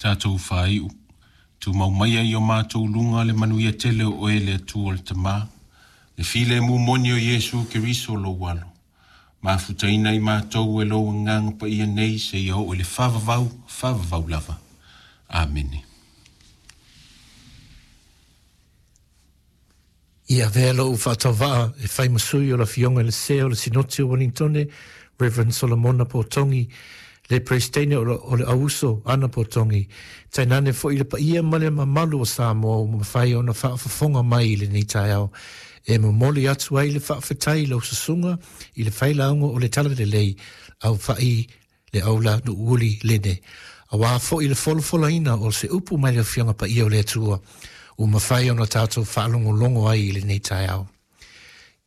Tatou faaiu, tumau maia i o matou luga le manuia tele o Oe le Atua o le Tama, le filemu moni o Iesu Keriso Lou Alo, mafutaina i matou e Lou Agaga Paia nei seia oo i le faavavau, faavavau lava. Amene. I avea lou faatauvaa e fai ma sui o le Afioga i le Sea o le Sinoti o Ueligitone, Rev. Solomona Potogi, le Peresetene o le Auuso Ana Potogi, tainane foi le paia ma le mamalu o Samoa ua mafai ona faafofoga mai i lenei taeao e momoli atu ai le faafetai i lau susuga i le failauga o le Talalelei Aufa'i le Aula Nuuuli Lene, auā foi le folafolaina o se upu mai le Afioga Paia o le Atua ua mafai ona tatou faalogologo ai i lenei taeao.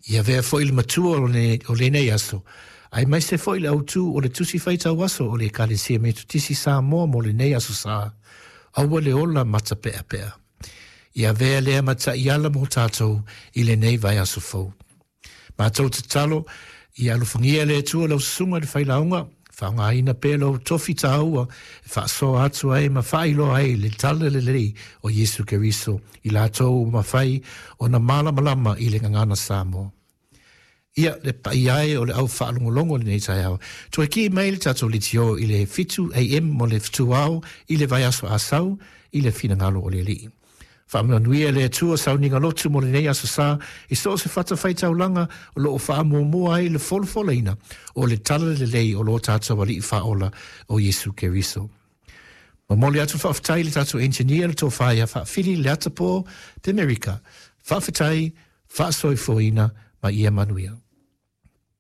I avea foi le matua o lenei aso, aemaise foi le autū o le Tusi Faitau Aso o le Ekalesia Metotisi Samoa mo lenei Aso Sa, aua le ola matapeapea. I avea lea ma taiala mo tatou i lenei vaiaso fou. Matou tatalo, ia alofagia e le Atua lau susuga i le failauga, faaaogaina pea lou tofi taua e faasoa atu ai ma faailoa ai le talalelei o Iesu Keriso i latou ua mafai ona malamalama i le gagana Samoa. Ia, le paia e o le au faalogologo i lenei taeao, toe kii mai le tatou leitio i le 7 AM mo le fetuao i le vaiaso Asau i le finagalo o le Alii. Faamanuia le Atua sauniga lotu mo lenei Aso Sa i so o se fatafaitaulaga o lo o faamuamua ai le folafolaina o le Talalelei o lo tatou Alii Faaola o Iesu Keriso. Momoli atu faafetai i le tatou engineer le tofa ia Faafili Leatapo Pemerika. Faafetai, faasoifuaina ma ia manuia.